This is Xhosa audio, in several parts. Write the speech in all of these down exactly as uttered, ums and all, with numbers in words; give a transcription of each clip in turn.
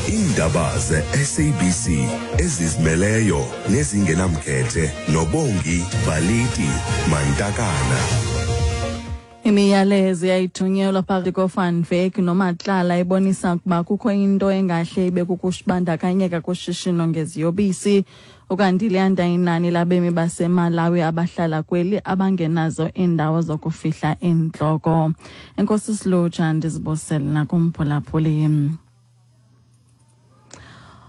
Iindaba ze-S A B C ezizimeleyo nezingenamkhethe noBongi Baliti Mantakana. Imiyalezo yayithunyelwa phakathi koVan Wyk noMatlala ibonisa ukuba kukho into engahle ibe kukubandakanyeka kushishino ngeziyobisi. Ukanti liyanda inani labemi baseMalawi abahlala kweli abangenazo iindawo zokufihla iintloko. Enkosi Silutsha, ndizibusele nakumphulaphuli.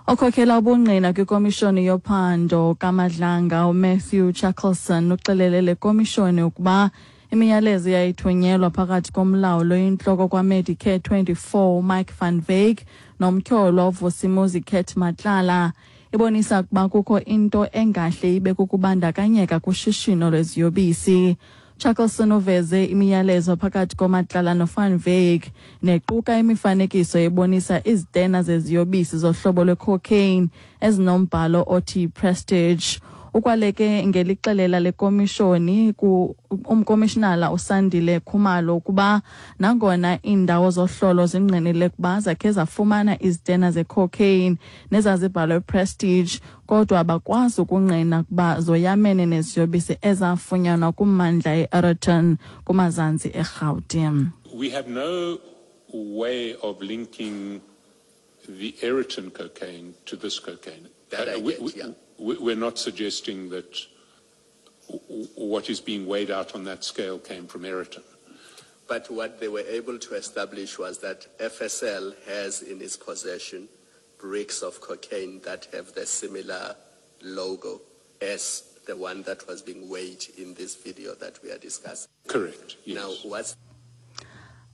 Okhokhela ubungqina kwikomishoni yophando kaMadlanga, uMatthew Chaskalson, uxelele le komishoni ukuba imiyalezo yayithunyelwa phakathi komlawuli oyintloko kwaMedicare twenty-four, Mike van Wyk, nomtyholwa uVusimuzi Cat Matlala ibonisa ukuba kukho into engahle ibe kukubandakanyeka kushishino lweziyobisi. Chaskalson uveze imiyalezo phakathi koMatlala noVan Wyk nequka imifanekiso ebonisa izitena zeziyobisi zohlobo lwecocaine ezinombhalo othi "Prestige". Ukwaleke ngelixelela lekomishoni ku umkomishinala uSandile Khumalo ukuba nangona iindawo zohlolo zingqinile ukuba zakhe zafumana izitena zecocaine nezazibhalwe "Prestige", kodwa abakwazi ukungqina ukuba zoyamene neziyobisi ezafunyanwa kummandla e-Aeroton kumazantsi eRhawuti. We have no way of linking the Aeroton cocaine to this cocaine. That I Uh, we, get, we, yeah. we- We're not suggesting that w- what is being weighed out on that scale came from Aeroton. But what they were able to establish was that F S L has in its possession bricks of cocaine that have the similar logo as the one that was being weighed in this video that we are discussing. Correct, yes. Now, what's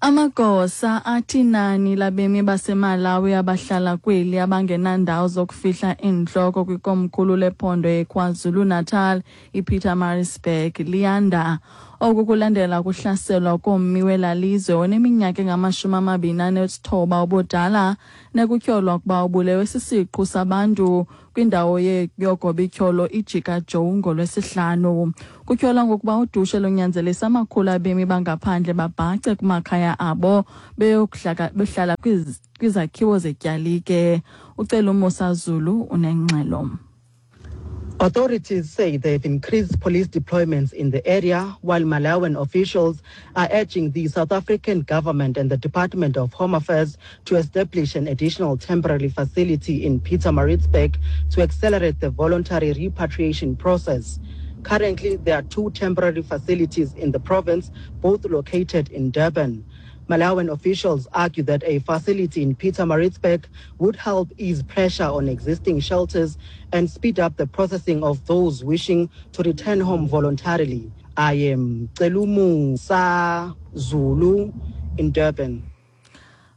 Amagosa athi inani labemi baseMalawi abahlala kweli abangenandawo zokufihla iintloko kwikomkhulu lephondo eKwaZulu-Natal, iPietermaritzburg, liyanda. Oku kulandela ukuhlaselwa kommi wela lizwe oneminyaka engamashumi amabini anesithoba ubudala nekutyholwa ukuba ubulewe sisiqhu sabantu kwindawo yogobityholo iJika Joe ngoLwesihlanu. Kutyholwa ngokuba udushe lunyanzelisa amakhulu abemi bangaphandle babhace kumakhaya abo beyokuhlala kwizakhiwo zetyalike. UCelumusa Zulu unengxelo. Authorities say they've increased police deployments in the area, while Malawian officials are urging the South African government and the Department of Home Affairs to establish an additional temporary facility in Pietermaritzburg to accelerate the voluntary repatriation process. Currently, there are two temporary facilities in the province, both located in Durban. Malawian officials argue that a facility in Pietermaritzburg would help ease pressure on existing shelters and speed up the processing of those wishing to return home voluntarily. I am Celumusa Zulu in Durban.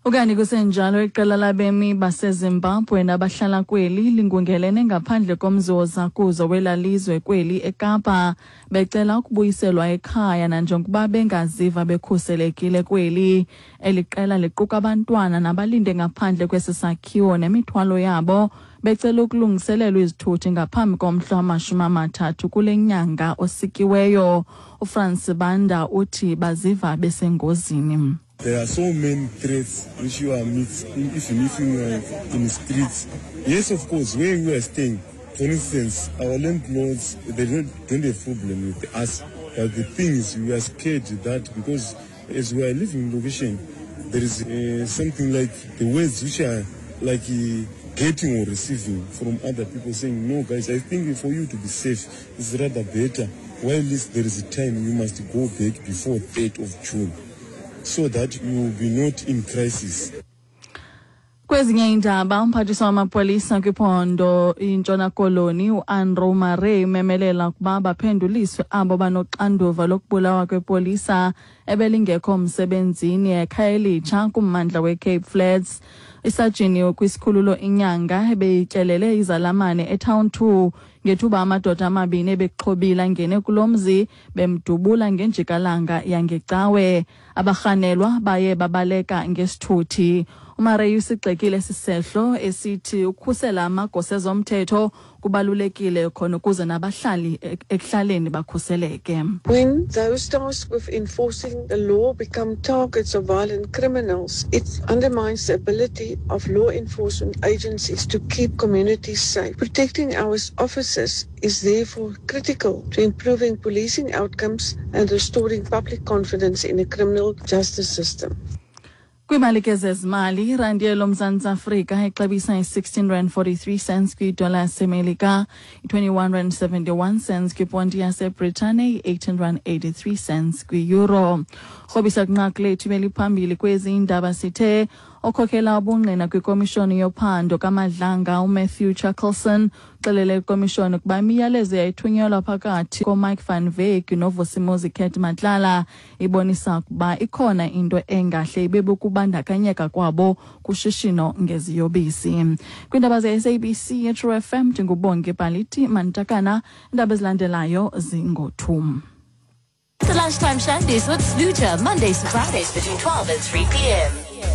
Ukanti kusenjalo, iqela labemi baseZimbabwe nabahlala kweli lingungelene ngaphandle komzi wozakuzo wela lizwe kweli eKapa becela ukubuyiselwa ekhaya nanjengokuba bengaziva bekhuselekile kweli. Eli qela liquka abantwana nabalinde ngaphandle kwesi sakhiwo nemithwalo yabo becela ukulungiselelwa izithuthi ngaphambi komhla wamashumi amathathu kule nyanga osikiweyo. UFrance Banda uthi baziva besengozini. There are so many threats which you are meet even if you are in the streets. Yes, of course, where we are staying, for instance, our landlords, they don't, don't have problem with us. But the thing is, we are scared that because as we are living location, there is uh, something like the words which are like uh, getting or receiving from other people saying, "No, guys, I think for you to be safe, it's rather better. While at least there is a time, you must go back before third of June so that you will be not in crisis." Kwezinye iindaba, umphathiswa wamapolisa kwiphondo iNtshona Koloni, uAndrew Murray, umemelela ukuba baphenduliswe abo banoxanduva lokubulawa kwepolisa ebelingekho msebenzini eKhayelitsha kummandla weCape Flats. Isajini kwisikhululo iNyanga ebeyityelele izalamane eTown two ngethuba amadoda amabini ebexhobile angene kulo mzi bemdubula ngenjikalanga yangeCawe. Abarhanelwa baye babaleka ngesithuthi. UMurray usigxekile esi sehlo esithi ukhusela amagosa ezomthetho kubalulekile khona ukuze nabahlali ekuhlaleni bakhuseleke. When those tasked with enforcing the law become targets of violent criminals, it undermines the ability of law enforcement agencies to keep communities safe. Protecting our officers is therefore critical to improving policing outcomes and restoring public confidence in the criminal justice system. Kwiimali ke zezimali, irandi yeloMzantsi Afrika ixabisa i-sixteen rand forty-three cents kwidola yaseMelika, i-twenty-one rand seventy-one cents kwiponti yaseBritane, i-eighteen rand eighty-three cents kwi-euro. Rhobisa kwinqaku lethu beliphambili kwezi indaba sithe okhokela ubungqina kwikomishoni yophando kaMadlanga uMatthew Chaskalson uxelele ikomishoni ukuba imiyalezo yayithunyelwa phakathi koMike van Wyk noVusimuzi Cat Matlala ibonisa ukuba ikhona into engahle ibe bukubandakanyeka kwabo kushishino ngeziyobisi. Kwiindaba ze-S A B C True F M ndinguBongi Baliti Mantakana, iindaba ezilandelayo zingothum. The Lunchtime Shandies with Sluter, Mondays to Fridays between twelve and three p m.